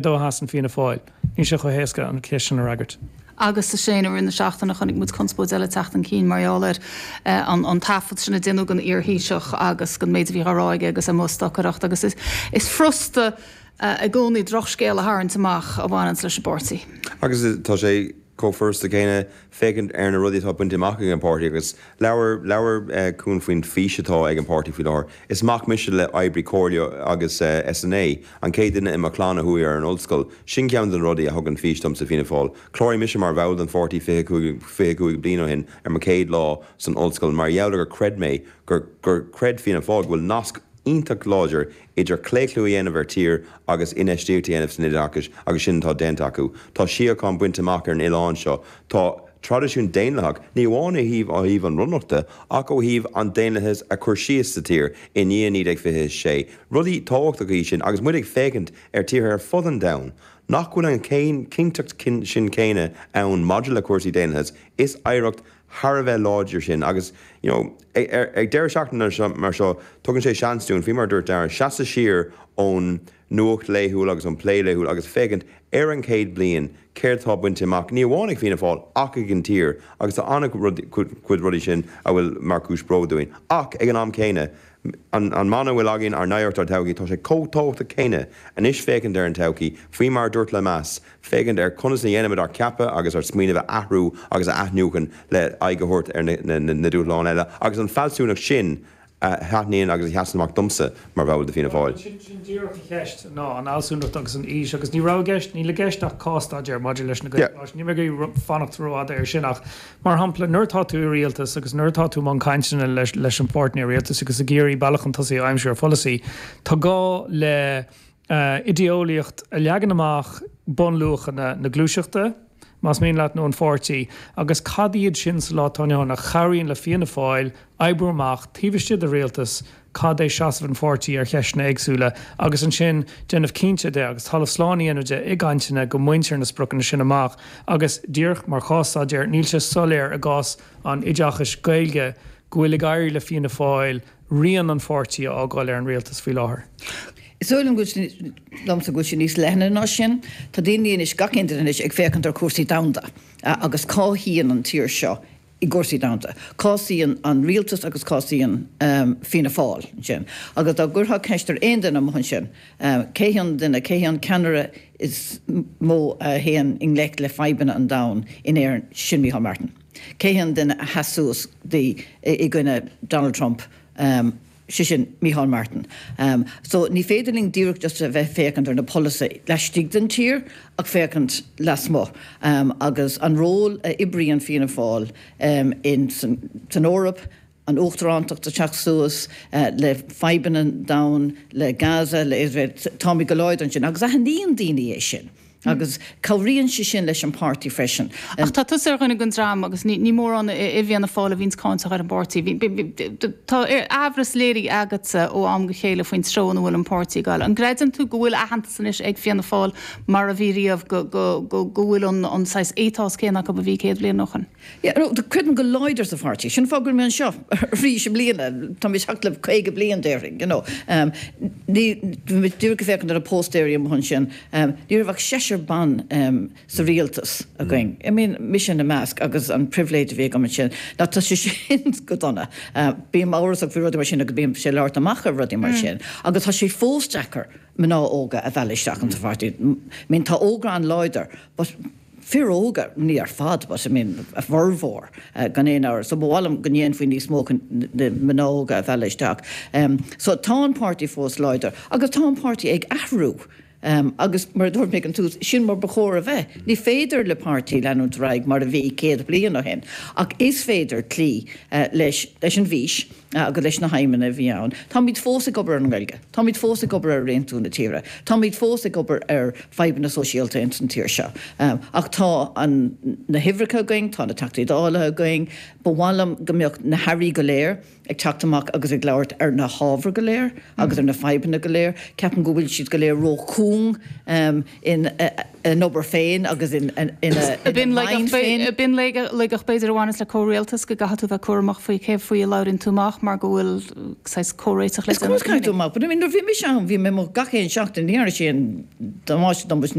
dó a sheasann Fianna Fáil? Níl sé chomh héasca an cheist sin a fhreagairt. Agus a Shane, i rith na seachtaine chonaic muid conspóid eile teacht chun cinn mar gheall ar an taifead sin a déanadh den iar-Thaoiseach agus den méid a bhí á rá aige agus é amuigh ag stocaireacht agus is furasta i gcónaí drochscéal a tharraingt amach a bhaineanns leis an bpáirtí. Agus tá sé chomh furasta céanna féachaint ar na rudaí atá bainte amach ag an bpáirtí agus labhair, labhair Cuan faoin bhfís atá ag an bpáirtí faoi láthair. Is mac mise le oibrí comhairle agus SNA, an chéad duine i mo chlann a chuaigh ar an ollscoil. Sin ceann de na rudaí a thugann fís domsa Fianna Fáil. Chláraigh mise mar bhall den pháirtí 25, 25 bliain ó shin ar mo chéad lá san ollscoil mar gheall ar gur chreid mé gur, gur chreid Fianna Fáil go bhfuil nasc iontach láidir idir claochlú a dhéanamh ar tír agus infheistíocht a dhéanamh san oideachas agus sin atá déanta acu. Tá síocháin bainte amach ar an oileán seo. Tá traidisiún daonlathach, ní amháin ó thaobh ó thaobh an Bhunreachta ach ó thaobh an daonlathas a chur síos sa tír i ndiaidh 1926. Rudaí tábhachtacha iad sin agus muid ag féachaint ar tíortha ar fud an domhain nach bhfuil an chinnteacht sin céanna ann maidir le cúrsaí daonlathais. Is oidhreacht thar a bheith láidir sin agus you know ag deireadh seachtaine mar seo tugann sé seans dúinn, faoi mar a dúirt Dara, seasamh siar ón nuacht laethúil agus ón plé laethúil agus féachaint ar an chéad bliain céard atá bainte amach, ní amháin ag Fianna Fáil ach ag an tír agus tá an-chuid rudaí sin a bhfuil mar chúis bróid dúinn. Ach ag an am céanna, an mana a bhfuil againn, ár n-oidhreacht, ár dtodhchaí, tá sé chomh tábhachtach céanna anois féachaint ar an todhchaí, faoi mar a dúirt Lemass, féachaint ar conas a dhéanaimid ár gceapadh agus ár smaoineamh a athrú agus a athnuachan le aghaidh a thabhairt ar na dúshláin eile agus an fealsúnacht sin a thaitníonn agus a sheasann amach domsa mar bhall de Fianna Fáil. Sin díreach an cheist ná an fhealsúnacht agus an fhís agus ní raibh i gceist, níl i gceist ach cás-staidéar maidir leis na Gaelcholáistí. Níl mé ag iarraidh fanacht rófhada air sin ach mar shampla nuair atá tú i rialtas agus nuair atá tú i mbun cainteanna leis an bpáirtnéir rialtais agus ag iarraidh bealach chun tosaigh a aimsiú ar pholasaí, tá gá le idé-eolaíocht a leagann amach bunluachanna na gluaiseachta, más mian leat, nó an pháirtí, agus cad iad sin sa lá atá inniu ann a chabhraíonn le Fianna Fáil oibriú amach, taobh istigh de rialtas, cad é seasamh an pháirtí ar cheisteanna éagsúla, agus ansin déanamh cinnte de, agus talamh slán a dhéanamh de i gcainteanna, go mbaintear na spriocanna sin amach. Agus, díreach mar chás-staidéar, níl sé soiléir i gcás an oideachais Gaeilge go bhfuil ag éirí le Fianna Fáil rian an pháirtí a fhágáil ar an rialtas faoi láthair. Is dóigh liom go bhfuil, liomsa go bhfuil sé níos leithne ná sin. Tá daoine anois, gach aon duine anois, ag féachaint ar chúrsaí domhanda agus cá shuíonn an tír seo i gcúrsaí domhanda. Cá suíonn an rialtas agus cá suíonn Fianna Fáil ansin. Agus dá gcuirfeá ceist ar aon duine amuigh ansin, cé hé an duine, cé hé an ceannaire is mó a théann i ngleic le fadhbanna an domhain in Éirinn, sin Micheál Martin. Cé hé an duine a sheas suas i gcoinne Donald Trump? Sé sin, Micheál Martin. So, ní féidir linn díreach just a bheith féachaint ar na polasaithe laistigh den tír ach féachaint lasmuigh. Agus an ról a oibríonn Fianna Fáil in san Eoraip, an uachtarántacht ag teacht suas, le fadhbanna an domhain, le Gaza, le Iosrael, táimid go láidir ansin agus aithníonn daoine é sin. Agus cabhraíonn sé sin leis an páirtí freisin. Ach tá tusa ar dhuine den dream, agus ní mórán i bhFianna Fáil a bhíonns cáinteach ar an bpáirtí. Tá aimhreas léirithe agatsa ó am go chéile faoin treo ina bhfuil an páirtí ag dul. An gcreideann tú go bhfuil aitheantas anois ag Fianna Fáil mar a bhí riamh, go bhfuil an saghas ethos céanna acu a bhí 100 bliain ó shin? Yeah, no, creidim go láidir sa pháirtí. Sin an fáth go bhfuil mé anseo arís i mbliana. Tá mé ag teacht le 50 bliain, déarfainn, you know. Ní, bhí mé díreach ag féachaint ar na póstaeirí amuigh ansin. Ní raibh ach seisear ban sa rialtas againn. I mean, mise ina measc agus an pribhléid a bhí agam ansin. Now, tá sé sin go dona. Bím amhrasach faoi rudaí mar sin agus bím ag labhairt amach ar rudaí mar sin. Agus tá sé fós deacair mná óga a mhealladh isteach insa pháirtí. I mean, tá ógra an-láidir, but fir óga, ní ar fad, but I mean, a bhformhór, gan aon amhras. So ba mhaith liom go ndéanfaí níos mó chun na mná óga a mhealladh isteach. So tá an páirtí fós láidir agus tá an páirtí ag athrú. Agus mar a dúirt mé ag an tús, sin mar ba chóir a bheith. Ní féidir le páirtí leanúint ar aghaidh mar a bhí 100 bliain ó shin, ach is féidir cloí leis leis an bhfís. agus leis na haidhmeanna a bhí ann. Táimid fós ag obair ar an nGaeilge. Táimid fós ag obair ar aontú na tíre. Táimid fós ag obair ar fadhbanna sóisialta ins an tír seo. Ach tá an, na huimhreacha againn, tá na Teachtaí Dála againn. Ba mhaith liom go mbeadh na hairí go léir ag teacht amach agus ag labhairt ar na hábhair go léir agus ar na fadhbanna go léir. Ceapaim go bhfuil siad go léir ró-chúl. cúng ina obair féin agus ina mind féin. B'in laigeacht b'fhéidir a bhaineas le comhrialtas, go gcaithfidh tú bheith cúramach faoi cé faoi a labhraíonn tú amach mar go bhfuil saghas comhréiteach le déanamh. Is cuma caithfidh tú amach, but I mean nuair a bhí mise ann bhí mé amuigh gach aon seachtain, ní dhearna sé aon damáiste dom.